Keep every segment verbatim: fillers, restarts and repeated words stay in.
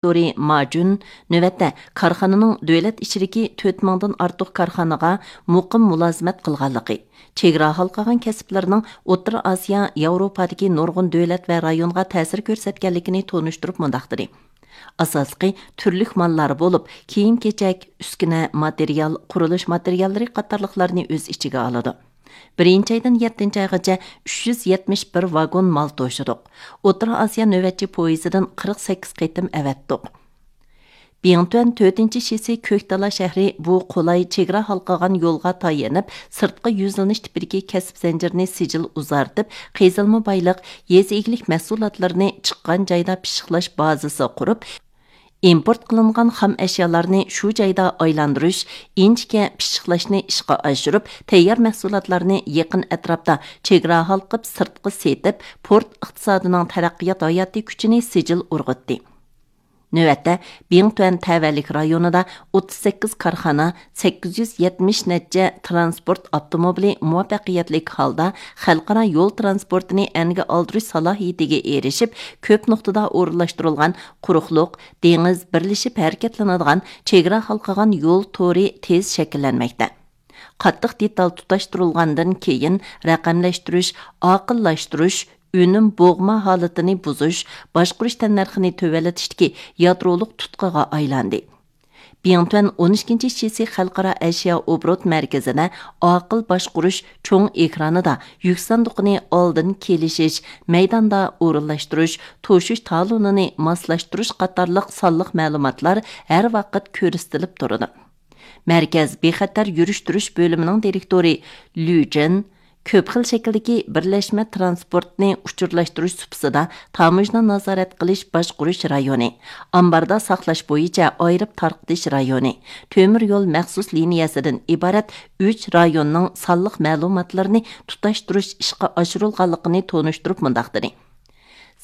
دىرېكتورى ما جۈن نۆۋەتتە كارخانىنىڭ دۆلەت ئىچىدىكى تۆت مىڭدىن ئارتۇق كارخانىغا مۇقىم مۇلازىمەت قىلغانلىقى، چېگرا ھالقىغان كەسىپلەرنىڭ ئوتتۇرا ئاسىيا، ياۋروپادىكى نۇرغۇن دۆلەت ۋە رايونغا تەسىر كۆرسەتكەنلىكىنى تونۇشتۇرۇپ مۇنداق دېدى: ئاساسلىقى تۈرلۈك ماللار بولۇپ، كىيىم-كېچەك، ئۈسكۈنە، ماتېرىيال، قۇرۇلۇش ماتېرىياللىرى قاتارلىقلارنى ئۆز ئىچىگە ئالىدۇ. بىرىنچى ئايدىن يەتتىنچى ئايغىچە ئۈچ يۈز يەتمىش بىر ۋاگون مال توشىدۇق. ئوتتۇرا ئاسىيا نۆۋەتچى پويىزىدىن قىرىق سەككىز قېتىم ئەۋەتتۇق. بىڭتۈەن تۆتىنچى شىسى كۆكتالا شەھىرى بۇ قولاي چېگرا ھالقىغان يولغا تايىنىپ، سىرتقا يۈزلىنىش تىپىدىكى كەسىپ زەنجىرىنى سىجىل ئۇزارتىپ، قېزىلما بايلىق، يېزا ئىگىلىك مەھسۇلاتلىرىنى چىققان جايدا پىششىقلاش بازىسى قۇرۇپ، ئىمپورت قىلىنغان خام ئەشيالارنى شۇ جايدا ئايلاندۇرۇش، ئىنچىكە پىششىقلاشنى ئىشقا ئاشۇرۇپ، تەييار مەھسۇلاتلارنى يېقىن ئەتراپتا چېگرا ھالقىپ سىرتقا سېتىپ، پورت ئىقتىسادىنىڭ تەرەققىيات ھاياتىي كۈچىنى سىجىل ئۇرغۇتتى. نۆۋەتتە، بىڭتۈەن تەۋەلىك رايونىدا ئوتتۇز سەككىز كارخانا، سەككىز يۈز يەتمىش نەچچە تىرانسپورت ئاپتوموبىلى مۇۋەپپەقىيەتلىك ھالدا خەلقئارا يول تىرانسپورتىنى ئەنگە ئالدۇرۇش سالاھىيىتىگە ئېرىشىپ، كۆپ نۇقتىدا ئورۇنلاشتۇرۇلغان قۇرۇقلۇق، دېڭىز بىرلىشىپ ھەرىكەتلىنىدىغان چېگرا ھالقىغان يول تورى تېز شەكىللەنمەكتە. قاتتىق دېتال تۇتاشتۇرۇلغاندىن كېيىن، رەقەملەشتۈرۈش، ئاقىللاشتۇرۇش، ئۈنۈم بوغما ھالىتىنى بۇزۇش، باشقۇرۇش تەننەرخىنى تۆۋەنلىتىشتىكى يادرولۇق تۇتقىغا ئايلاندى. بىڭتۈەن ئون ئىككىنچى شىسى خەلقئارا ئەشيا ئوبوروت مەركىزىدە ئاقىل باشقۇرۇش چوڭ ئېكرانىدا يۈك ساندۇقىنى ئالدىن كېلىشىش، مەيداندا ئورۇنلاشتۇرۇش، توشۇش تالونىنى ماسلاشتۇرۇش قاتارلىق سانلىق مەلۇماتلار ھەر ۋاقىت كۆرسىتىلىپ تۇرىدۇ. مەركەز بىخەتەر يۈرۈشتۈرۈش بۆلۈمىنىڭ دىرېكتورى لۈ جېن كۆپ خىل شەكىلدىكى بىرلەشمە تىرانسپورتنى ئۇچۇرلاشتۇرۇش سۇپىسىدا تاموژنا نازارەت قىلىش باشقۇرۇش رايونى، ئامباردا ساقلاش بويىچە ئايرىپ تارقىتىش رايونى، تۆمۈر يول مەخسۇس لىنىيەسىدىن ئىبارەت ئۈچ رايوننىڭ سانلىق مەلۇماتلىرىنى تۇتاشتۇرۇش ئىشقا ئاشۇرۇلغانلىقىنى تونۇشتۇرۇپ مۇنداق دېدى: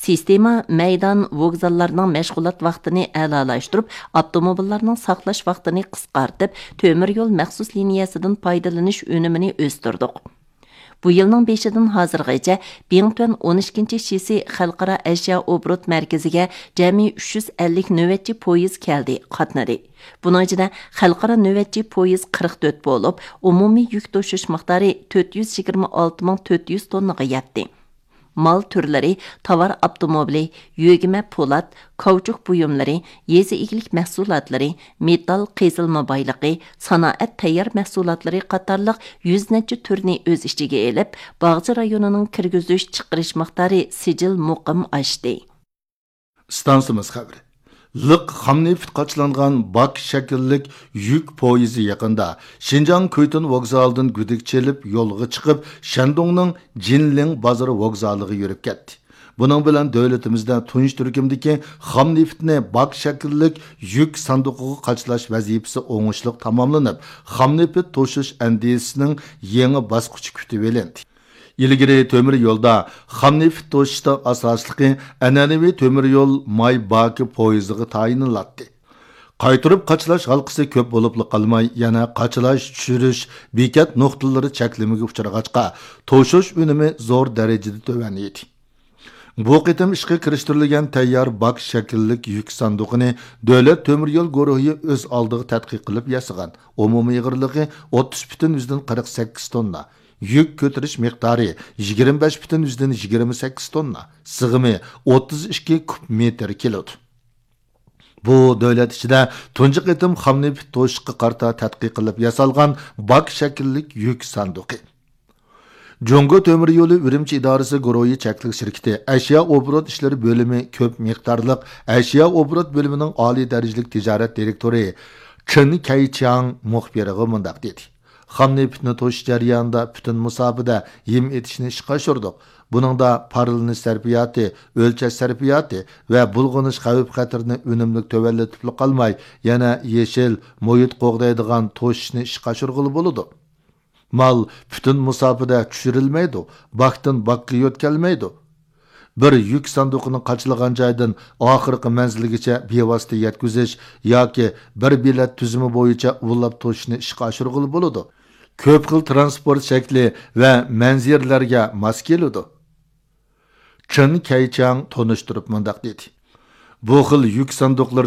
سىستېما مەيدان ۋوگزاللارنىڭ مەشغۇلات ۋاقتىنى ئەلالاشتۇرۇپ، ئاپتوموبىللارنىڭ ساقلاش ۋاقتىنى قىسقارتىپ، تۆمۈر يول مەخسۇس لىنىيەسىدىن پايدىلىنىش ئۈنۈمىنى ئۆستۈردۇق. بۇ يىلنىڭ بېشىدىن ھازىرغىچە بىڭتۈەن ئون ئىككىنچى شىسى خەلقئارا ئەشيا ئوبوروت مەركىزىگە جەمئىي ئۈچ يۈز ئەللىك نۆۋەتچى پويىز كەلدى، قاتنىدى. بۇنىڭ ئىچىدە خەلقئارا نۆۋەتچى پويىز قىرىق تۆت بولۇپ، ئومۇمىي يۈك توشۇش مىقدارى تۆت يۈز يىگىرمە ئالتە مىڭ تۆت يۈز توننىغا يەتتى. مال تۈرلىرى تاۋار ئاپتوموبىلى، يۆگىمە پولات، كاۋچۇك بۇيۇملىرى، يېزا ئىگىلىك مەھسۇلاتلىرى، مېتال قېزىلما بايلىقى، سانائەت تەييار مەھسۇلاتلىرى قاتارلىق يۈز نەچچە تۈرنى ئۆز ئىچىگە ئېلىپ، باغچە رايونىنىڭ كىرگۈزۈش چىقىرىش مىقدارى سىجىل مۇقىم ئاشتى. ئىستانسىمىز خەۋىرى. لىق خام نېفىت قاچىلانغان باك شەكىللىك يۈك پويىزى يېقىندا شىنجاڭ كۈيتۇن ۋوگزالىدىن گۈدۈك چېلىپ يولغا چىقىپ، شەندۇڭنىڭ جىنلىڭ بازىرى ۋوگزالىغا يۈرۈپ كەتتى. بۇنىڭ بىلەن دۆلىتىمىزدە تۇنجى تۈركۈمدىكى خام نېفىتنى باك شەكىللىك يۈك ساندۇقىغا قاچىلاش ۋەزىپىسى ئوڭۇشلۇق تاماملىنىپ، خام نېفىت توشۇش ئەندىزىسىنىڭ يېڭى باسقۇچى كۈتۈۋېلىندى. ئىلگىرى تۆمۈر يولدا خام نېفىت توشۇشتا ئاساسلىقى ئەنئەنىۋى تۆمۈر يول ماي باكى پويىزىغا تايىنىلاتتى. قايتۇرۇپ قاچىلاش ھالقىسى كۆپ بولۇپلا قالماي، يەنە قاچىلاش، چۈشۈرۈش، بېكەت نۇقتىلىرى چەكلىمىگە ئۇچرىغاچقا، توشۇش ئۈنۈمى زور دەرىجىدە تۆۋەن ئىدى. بۇ قېتىم ئىشقا كىرىشتۈرۈلگەن تەييار باك شەكىللىك يۈك ساندۇقىنى دۆلەت تۆمۈر يول گۇرۇھى ئۆز ئالدىغا تەتقىق قىلىپ ياسىغان. ئومۇمىي ئېغىرلىقى ئوتتۇز پۈتۈن يۈزدىن قىرىق سەككىز توننا، يۈك كۆتۈرۈش مىقدارى يىگىرمە بەش پۈتۈن يۈزدىن يىگىرمە سەككىز توننا، سىغىمى ئوتتۇز ئىككى كۇب مېتىر كېلىدۇ. بۇ دۆلەت ئىچىدە تۇنجى قېتىم خام نېفىت توشۇشقا قارىتا تەتقىق قىلىپ ياسالغان باك شەكىللىك يۈك ساندۇقى. جۇڭگو تۆمۈر يولى ئۈرۈمچى ئىدارىسى گۇرۇھى چەكلىك شىركىتى ئەشيا ئوبوروت ئىشلىرى بۆلۈمى كۆپ مىقدارلىق ئەشيا ئوبوروت بۆلۈمىنىڭ ئالىي دەرىجىلىك تىجارەت دىرېكتورى چېن كەيچياڭ مۇخبىرغا مۇنداق دېدى: خام نېفىتنى توشۇش جەريانىدا پۈتۈن مۇساپىدە ھىم ئېتىشنى ئىشقا ئاشۇردۇق. بۇنىڭدا پارلىنىش سەرپىياتى، ئۆلچەش سەرپىياتى ۋە بۇلغىنىش خەۋپ-خەتىرىنى ئۈنۈملۈك تۆۋەنلىتىپلا قالماي، يەنە يېشىل، مۇھىت قوغدايدىغان توشۇشنى ئىشقا ئاشۇرغىلى بولىدۇ. مال پۈتۈن مۇساپىدە چۈشۈرۈلمەيدۇ، باكتىن باكقا يۆتكەلمەيدۇ. بىر يۈك ساندۇقىنى قاچىلىغان جايدىن ئاخىرقى مەنزىلگىچە بىۋاسىتە يەتكۈزۈش ياكى بىر بېلەت تۈزۈمى بويىچە ئۇۋىلاپ توشۇشنى ئىشقا ئاشۇرغىلى بولىدۇ. كۆپ خىل تىرانسپورت شەكلى ۋە مەنزىرىلەرگە ماس كېلىدۇ. چېن كەيچياڭ تونۇشتۇرۇپ مۇنداق دېدى: بۇ خىل يۈك ساندۇقلىرىنى